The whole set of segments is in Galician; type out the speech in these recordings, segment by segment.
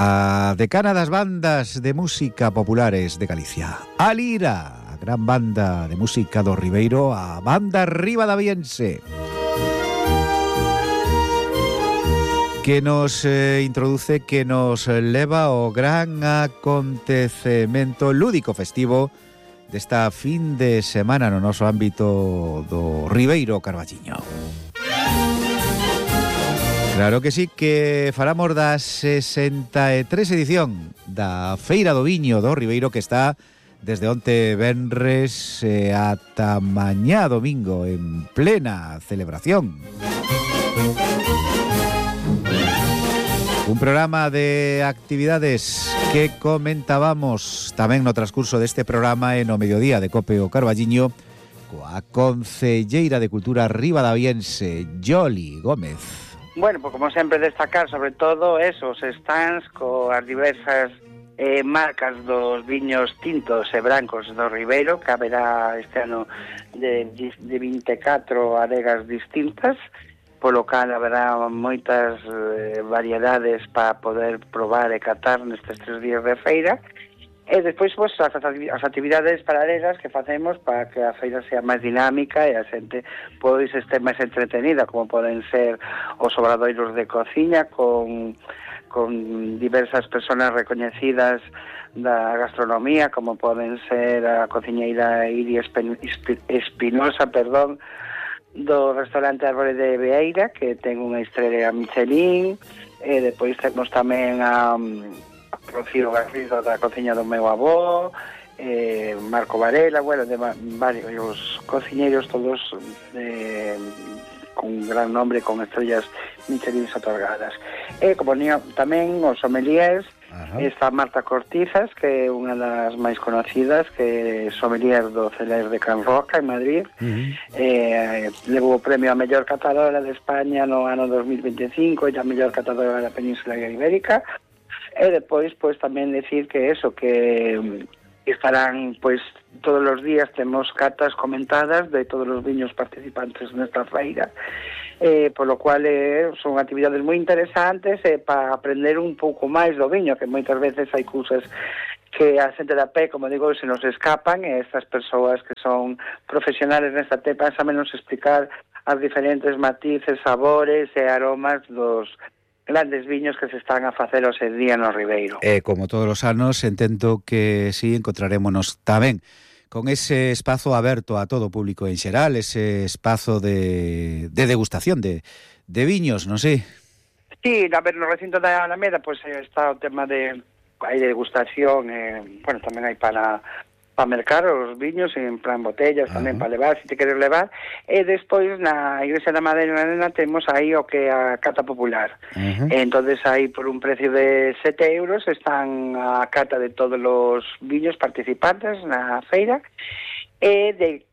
a decana das bandas de música populares de Galicia, a Lira, a gran banda de música do Ribeiro, a banda ribadaviense, que nos introduce, que nos leva ao gran acontecemento lúdico festivo desta fin de semana no noso ámbito do Ribeiro Carballiño. Claro que sí, que falamos da 63 edición da Feira do Viño do Ribeiro, que está desde onte venres ata mañá domingo en plena celebración. Un programa de actividades que comentábamos tamén no transcurso deste programa e no mediodía de Cope o Carballiño coa concelleira de Cultura ribadaviense, Yoli Gómez. Bueno, pues como sempre destacar sobre todo esos stands coas diversas marcas dos viños tintos e brancos do Ribeiro, que haberá este ano de 24 adegas distintas, polo cal haberá moitas variedades para poder probar e catar nestes 3 días de feira. E despois, pues, as actividades paralelas que facemos para que a feira sea máis dinámica e a xente pois este máis entretenida, como poden ser os obradoiros de cociña con diversas persoas recoñecidas da gastronomía, como poden ser a cociñeira Iri Espinosa, do restaurante Árbore de Beeira, que ten unha estrela Michelin, e depois temos tamén a Rocío Garrido da cociña do meu avó, Marco Varela, bueno, de varios cociñeiros todos con gran nombre, con estrellas Michelin otorgadas. E como tamén os sommeliers, está Marta Cortizas, que é unha das máis conocidas, que é sommelier do Celer de Can Roca en Madrid. Levou o premio a mellor catadora de España no ano 2025 e a mellor catadora da Península Ibérica. E depois, pois, tamén decir que eso, que estarán, pois, todos os días temos catas comentadas de todos os viños participantes nesta feira, polo cual son actividades moi interesantes para aprender un pouco máis do viño, que moitas veces hai cousas que a xente da pé, como digo, se nos escapan, e estas persoas que son profesionales nesta tepa saben nos explicar as diferentes matices, sabores e aromas dos grandes viños que se están a facer hoxe día no Ribeiro. Como todos os anos, entendo que sí, encontrarémonos tamén con ese espazo aberto a todo o público en xeral, ese espazo de degustación de viños, non sei? Sí, a ver, no recinto da Alameda, pois está o tema de hai degustación, bueno, tamén hai para mercar os viños en plan botellas, tamén para levar, se te queres levar. E despois na Igrexa da Madalena temos aí o que é a cata popular. Entonces aí por un precio de 7 euros están a cata de todos os viños participantes na feira, e de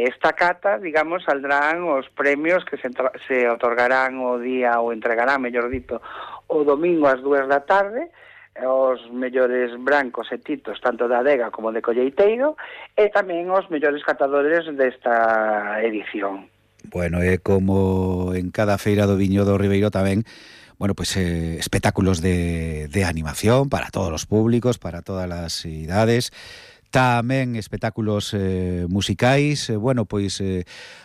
esta cata, digamos, saldrán os premios que se otorgarán o día, ou entregarán, mellor dito, o domingo ás 2 da tarde, os mellores brancos e titos tanto da adega como de colleiteiro, e tamén os mellores catadores desta edición. Bueno, é como en cada feira do viño do Ribeiro tamén, bueno, pues espectáculos de animación para todos os públicos, para todas as idades, tamén espectáculos musicais, bueno, pois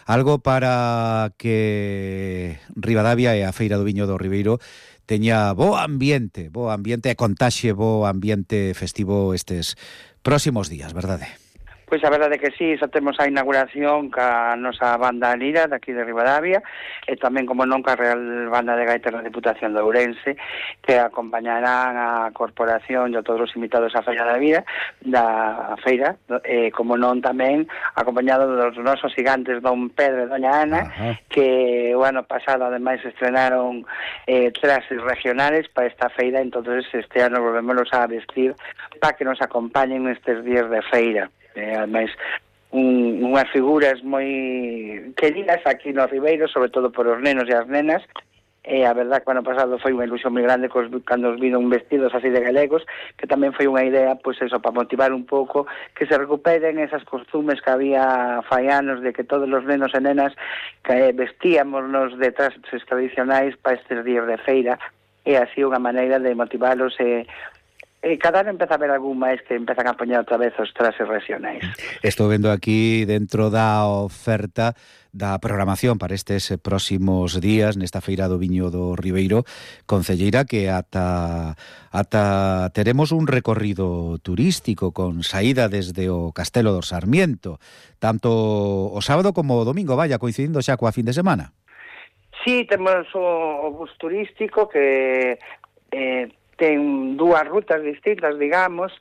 algo para que Ribadavia e a Feira do Viño do Ribeiro teña bo ambiente e contaxe bo ambiente festivo estes próximos días, verdade? Pois a verdade que sí, xa temos a inauguración ca nosa banda Lira daqui de Ribadavia, e tamén, como non, ca Real Banda de Gaitas da Diputación de Ourense, que acompañarán a corporación e a todos os invitados á Feira da Feira, como non tamén acompañado dos nosos gigantes Don Pedro e Doña Ana, que o ano pasado ademais estrenaron trajes regionales para esta feira, entonces este ano volvémonos a vestir para que nos acompañen nestes días de feira. Ademais, unhas figuras moi queridas aquí no Ribeiro, sobre todo por os nenos e as nenas, e a verdad que o ano pasado foi unha ilusión moi grande cando os viron vestidos así de galegos, que tamén foi unha idea, pois eso, para motivar un pouco que se recuperen esas costumes que había fai anos, de que todos os nenos e nenas que vestíamos nos de trajes tradicionais para estes días de feira, e así unha maneira de motivalos cada ano empeza a haber algún máis que empezan a poñer outra vez os traxes regionais. Estou vendo aquí dentro da oferta da programación para estes próximos días nesta feira do viño do Ribeiro, concelleira, que ata teremos un recorrido turístico con saída desde o Castelo do Sarmiento, tanto o sábado como o domingo, vaya, coincidindo xa coa fin de semana. Sí, temos o bus turístico que ten dúas rutas distintas, digamos,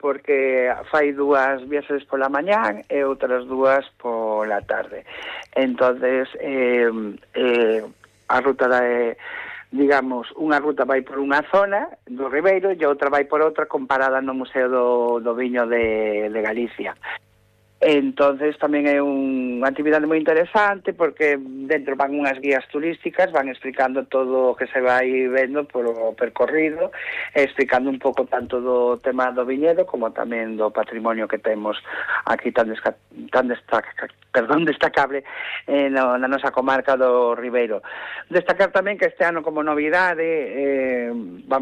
porque fai dúas viaxes pola mañán e outras dúas pola tarde. Entonces, a ruta digamos, unha ruta vai por unha zona do Ribeiro e outra vai por outra comparada no Museo do Viño de Galicia. Entonces tamén é unha actividade moi interesante porque dentro van unhas guías turísticas, van explicando todo o que se vai vendo polo percorrido, explicando un pouco tanto do tema do viñedo como tamén do patrimonio que temos aquí tan destacable na nosa comarca do Ribeiro. Destacar tamén que este ano como novidade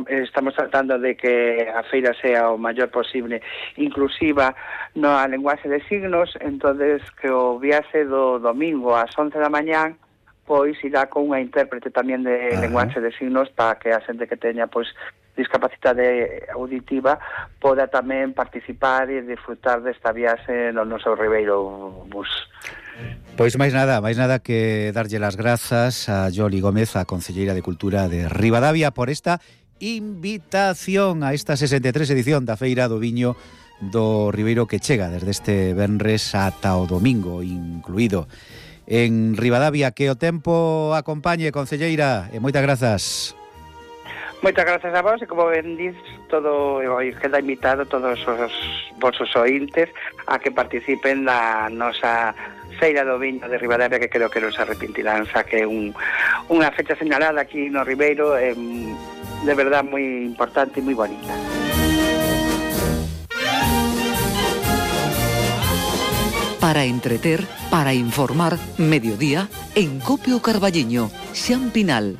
estamos tratando de que a feira sea o maior posible inclusiva na lenguaxe de signos. Entonces que o viaxe do domingo ás 11 da mañán pois irá con unha intérprete tamén de lenguaxe de signos para que a xente que teña pois discapacidade auditiva poda tamén participar e disfrutar desta viaxe no noso Ribeiro Bus. Pois máis nada que darlle las grazas a Yoli Gómez, a concelleira de Cultura de Ribadavia, por esta invitación a esta 63 edición da Feira do Viño do Ribeiro, que chega desde este venres ata o domingo incluído en Ribadavia. Que o tempo acompañe, concelleira, e moitas grazas. Moitas grazas a vos, e como ben dis, todo queda invitado todos os vosos ointes a que participen da nosa Feira do Viño de Ribadavia, que creo que non se arrepentirán, xa que é unha fecha señalada aquí no Ribeiro, de verdad moi importante e moi bonita. Para entreter, para informar, mediodía, en Copio Carballiño, Xan Pinal.